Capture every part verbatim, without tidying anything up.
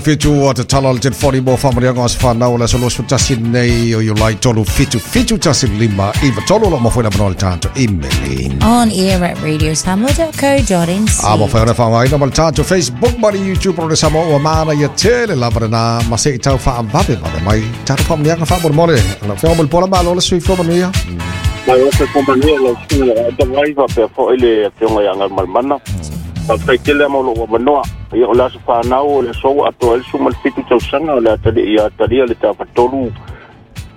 Fitu o te tala o le telefoni mo whamanianga o se whanau o le aso luasefulu tasi nei o Iulai tolu fitu fitu tasi lima iva tolu lo mafoi la manoa le tātou imeli. On air at radio samoa dot co dot n c. A mafai ona whaangaina ma le tātou Facebook ma le YouTube o le Samoa ua mana ia tele lava lena ma se i tau whaavave vave mai tātou whamanianga whaamolemole. La whenga mo le pola malo le soifua manuia. Mai o se kompania lau susuga i le Aitavai faapea foi le afioga ia Galumalemana. Faafetai tele mo lou avanoa. Ia o le aso fanau o le aso ua atoa ai le suma le fitu tausaga o le atalii ia atalia le tafatolu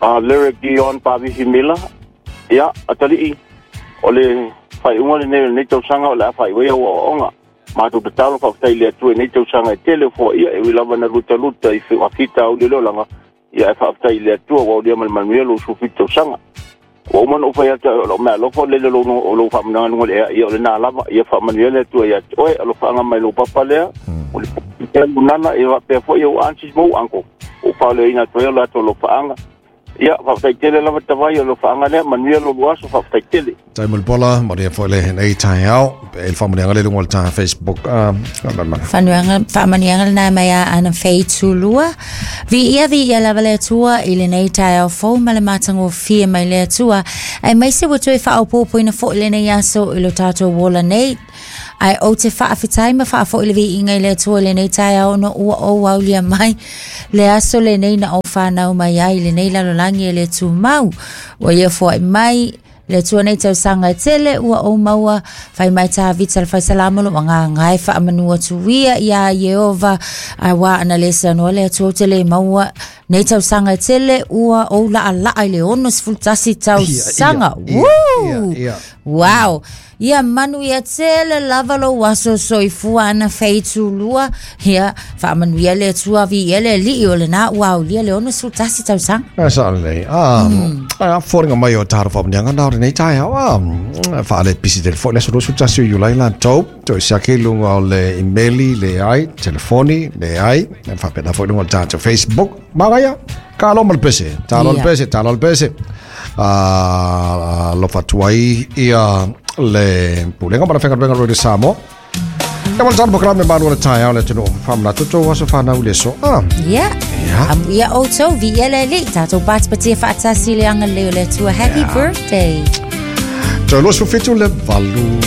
a Lyric Dion Pavihi Miller. Ia atalii o le faaiuga lenei o lenei tausaga o le a faaiu ai au aoaoga. Matou tatalo faafetai i le Atua i nei tausaga e tele o foaia e ui lava na lutaluta i faafitauli o le olaga. Ia e faafetai i le Atua ua aulia ma le manuia lou suafitu tausaga. Ua uma ona ou fai atu ai o lou meaalofa o lele o lou faamananga luga o le ea, ia o lena lava, ia faamanuia le Atua ia te oe, alofaaga mai lou papa lea, o le pea lunana, ia faapea foi ou aunties ma ou uncle, ua faaleoina atu ai o latou alofaaga. Ia, faafetai tele lava Tavai o alofaaga lea, manuia lo lua aso, faafetai tele. Tai Mulipola, manuia foi le nei taeao, e le faamanuiaga le luga o le ta Facebook. Uh, Faamanuiaga, faamanuiaga lena mai a ana feitulua. Viia, viia lava le Atua i lenei taeao fou ma le matagofie mai le Atua. Aemaise ua toe faaopoopoina foi lenei aso i lo tatou ola nei. Ae ou te faafetai ma faafoi le viiga i le Atua i lenei taeao ona ua ou aulia mai le aso lenei na ou whanau mai ai lenei lalolagi e le tumau. Ua ia foai mai le Atua nei tausaga e tele ua ou maua fai mai Tavita le faisalamo lo ngā ngai whaamanu atu ia ia Yehova a wā ana le sanoa le Atua o te le maua nei tausaga e tele ua ou laa laa i le ono sefulu tasi tausaga. Ia, ia, Woo! ia, ia. Wow! Ia manu ia tele lava lo aso soifua ana feitulua. Ia faamanuia le Atua vi ia le alii o lena ua aulia le ono sefulu tasi tausaga. A sa lelei. A, a foliga mai o tatou faamanuiaga na o lenei taeao. A, faale pisi telefoni le aso luasefulu tasi o Iulai latou. Toe siaki i luga o le imeli, leai, telefoni, leai. Faapena foi i luga o le tatou Facebook. Magaia, talo ma le pese. Talo le Ia. pese, talo le pese. A, alofa atu ai ia le pulega ma le faigaluega Radio Samoa. Ia ma le talo polokalame malu o le taeao le atunuu. Faamanatu tou aso fanau i le aso. Ah, Ia. Ia. Amu ia outou, viia le alii, tatou patipatia faatasi le agalelei o le Atua. Happy Ia. birthday. Toe luasefulu fitu le valu.